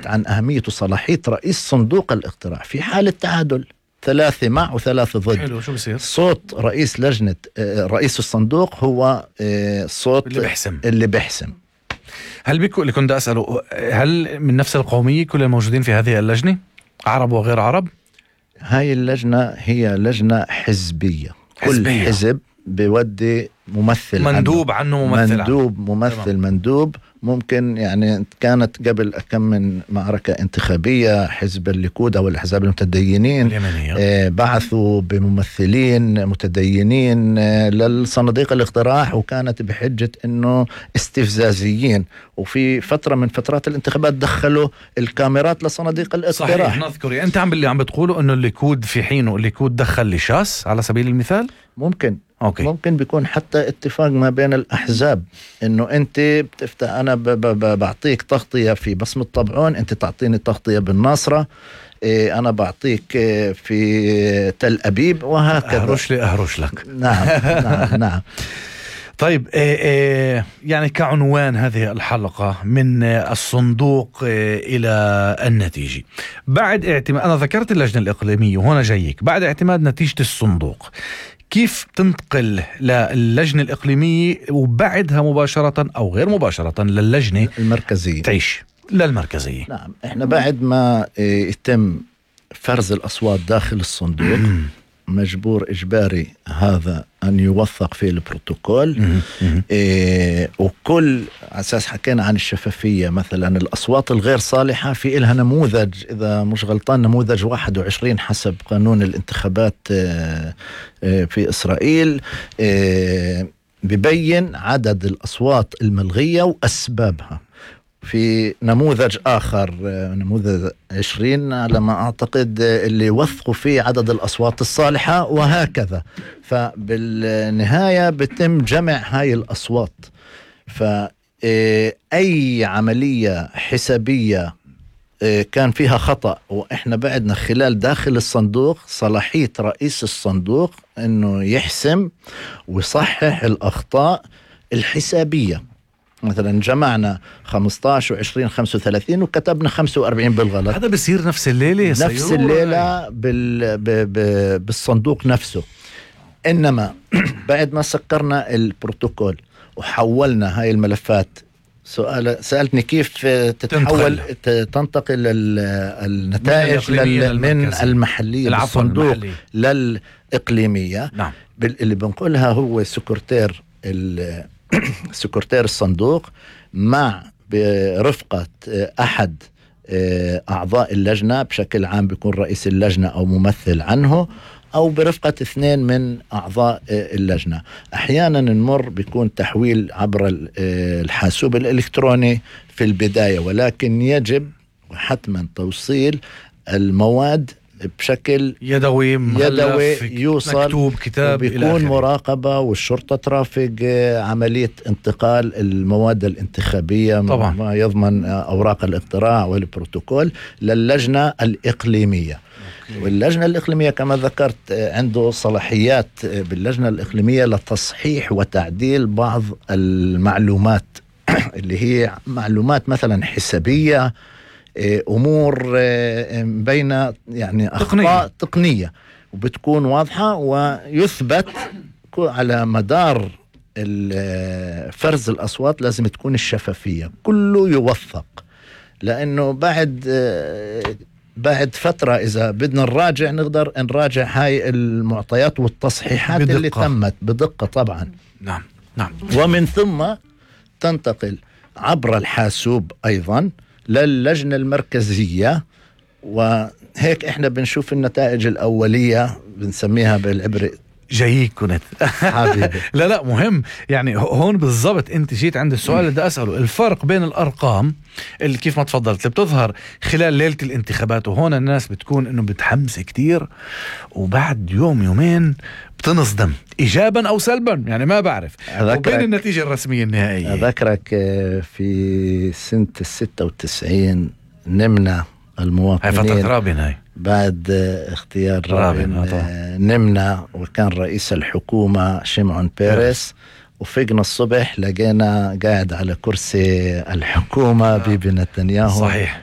تحدثت عن أهمية وصلاحية رئيس صندوق الاقتراع في حالة تعادل 3 مع و3 ضد. حلو، شو بصير؟ صوت رئيس لجنة رئيس الصندوق هو صوت اللي بيحسم. هل بيكون اللي كنت أسأله، هل من نفس القومية كل الموجودين في هذه اللجنة، عرب وغير عرب؟ هاي اللجنة هي لجنة حزبية. كل حزب بيودي ممثل مندوب عنه مندوب ممكن. يعني كانت قبل كم من معركة انتخابية حزب الليكود أو الأحزاب المتدينين بعثوا بممثلين متدينين للصناديق الاقتراع، وكانت بحجة إنه استفزازيين. وفي فترة من فترات الانتخابات دخلوا الكاميرات لصناديق الاقتراع. صحيح، نذكر. أنت عم بتقولوا إنه الليكود في حينه الليكود دخل لشاس على سبيل المثال؟ ممكن. أوكي. ممكن بيكون حتى اتفاق ما بين الأحزاب إنه أنت بتفتح، أنا بعطيك تغطية في بصمة طبعون، أنت تعطيني تغطية بالناصرة، أنا بعطيك في تل أبيب، وهكذا. أهرش لك. نعم. طيب، يعني كعنوان هذه الحلقة من الصندوق إلى النتيجة بعد اعتماد، أنا ذكرت اللجنة الإقليمية وهنا جايك، بعد اعتماد نتيجة الصندوق كيف تنتقل للجنة الإقليمية وبعدها مباشرة أو غير مباشرة للجنة المركزية تعيش للمركزية؟ نعم، إحنا بعد ما يتم فرز الأصوات داخل الصندوق مجبور إجباري هذا أن يوثق في البروتوكول. وكل أساس حكينا عن الشفافية، مثلا الأصوات الغير صالحة في إلها نموذج، إذا مش غلطان نموذج 21 حسب قانون الانتخابات في إسرائيل، ببين عدد الأصوات الملغية وأسبابها. في نموذج آخر، نموذج 20 على ما أعتقد، اللي وثقوا فيه عدد الأصوات الصالحة، وهكذا. فبالنهاية بتم جمع هاي الأصوات. فأي عملية حسابية كان فيها خطأ، وإحنا بعدنا خلال داخل الصندوق صلاحية رئيس الصندوق إنه يحسم ويصحح الأخطاء الحسابية. مثلا جمعنا 15 و20 35 وكتبنا 45 بالغلط، هذا بيصير نفس الليلة بالصندوق نفسه. إنما بعد ما سكرنا البروتوكول وحولنا هاي الملفات، سألتني كيف تنتقل النتائج من المحلية بالصندوق للإقليمية. نعم. اللي بنقولها هو سكرتير الصندوق مع برفقة أحد أعضاء اللجنة، بشكل عام بيكون رئيس اللجنة أو ممثل عنه، أو برفقة 2 من أعضاء اللجنة. أحيانا نمر بيكون تحويل عبر الحاسوب الإلكتروني في البداية، ولكن يجب حتما توصيل المواد بشكل يدوي يوصل مكتوب كتاب، بيكون مراقبة والشرطة ترافق عملية انتقال المواد الانتخابية طبعا، ما يضمن أوراق الاقتراع والبروتوكول للجنة الإقليمية. واللجنة الإقليمية كما ذكرت عنده صلاحيات باللجنة الإقليمية لتصحيح وتعديل بعض المعلومات اللي هي معلومات مثلا حسابية، أمور بين يعني أخطاء تقنية وبتكون واضحة، ويثبت على مدار فرز الأصوات لازم تكون الشفافية كله يوثق. لأنه بعد فترة إذا بدنا نراجع نقدر نراجع هاي المعطيات والتصحيحات بدقة. اللي تمت بدقة طبعا. نعم. ومن ثم تنتقل عبر الحاسوب أيضا للجنة المركزية، وهيك إحنا بنشوف النتائج الأولية بنسميها بالعبري جايك كنت حبيبي. لا مهم، يعني هون بالضبط انت جيت عند السؤال اللي بدي اساله، الفرق بين الارقام اللي كيف ما تفضلت اللي بتظهر خلال ليله الانتخابات، وهون الناس بتكون انه بتحمس كتير وبعد يوم يومين بتنصدم ايجابا او سلبا، يعني ما بعرف، وبين النتيجه الرسميه النهائيه. اذكرك في سنه 96 نمنا المواطنين، هاي فتره رابين، هاي بعد اختيار رابين نمنا، وكان رئيس الحكومة شمعون بيريس، وفقنا الصبح لقينا قاعد على كرسي الحكومة بيبي نتنياهو. صحيح.